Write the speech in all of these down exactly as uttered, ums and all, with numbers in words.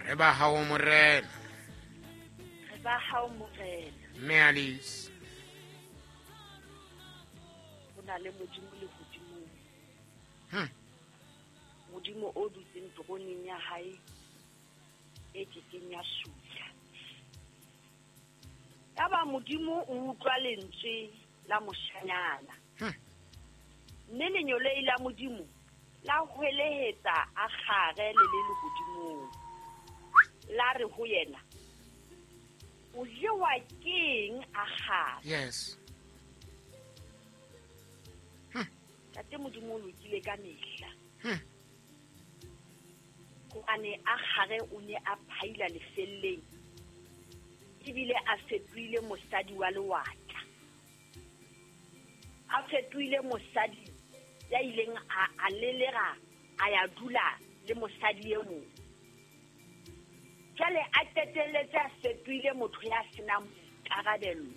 Re ba hao Morena. Re ba hao Morena. Mme Alice. Ho na le Modimo lehodimong. Hmm. Modimo o dutseng teroneng ya hae e kekeng ya sutla. Yaba Modimo o utlwa lentswe la moshanyana. Hmm. Mme lenyolei la Modimo la hwelehetsa Agare le le lehodimong. La re ho yena, o jewa keng Agare? Yes. Tate Modimo o lokile ka mehla. Hmm. Hobane Agare o ne a phaila lefelleng, ebile a fetohile mosadi wa lewatla. A fetohile mosadi ya ileng a, a lelera, a ya dula le mosadi e mong. Jwale a qetelletse a fetohile motho ya senang boikarabello.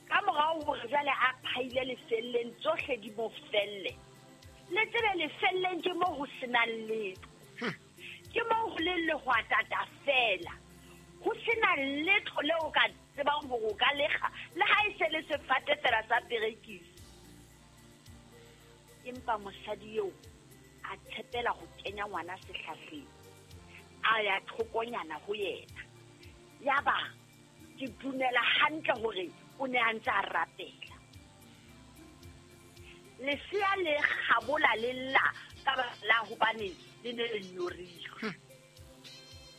Ka morao hore jwale a phaile lefelleng, tsohle di mo felle. Le tsebe lefelleng ke moo ho senang letho. Hmm. Ke moo ho leng lehwatata feela. Ho sena letho leo o ka tsebang hore o ka lekga, le ha e se le sefate feela sa perekisi. Empa mosadi eo a tshepela ho kenya ngwana sehlahleng, a ya thokonyana ho yena. Yaba ke dumela hantle hore o ne a ntse a rapela. Lesea le kgabola le lla ka baka la hobane le ne le nyorilwe. Hmm.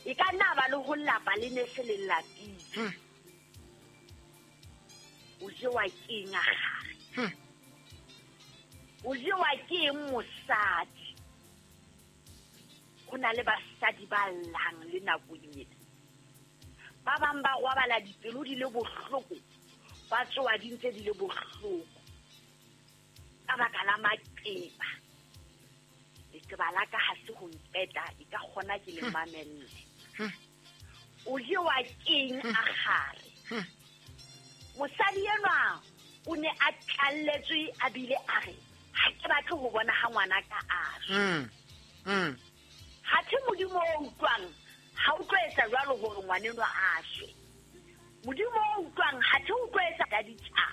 E ka nna ba le ho lapa le ne se le lapile. Hmm. O jewa keng Agare? Hmm. O jewa ke eng mosadi? Ho na le basadi ba llang le nakong ena. Ba bang ba robala dipelo di le bohloko, ba tsoha di ntse di le bohloko ka baka la maqeba. Leqeba la ka ha se ho nqeta, e ka kgona ke le mamelle. Hmm. O jewa keng Agare? Hmm. Mosadi enwa o ne a tlalletswe a bile a re, ha ke batle ho bona ha ngwana ka a shwa. Hmm. Hmm. Hathe Modimo o utlwang, ha o tlo etsa jwalo hore ngwanenwa a shwe. Modimo o utlwang, hathe o tlo etsa ka ditjhaba.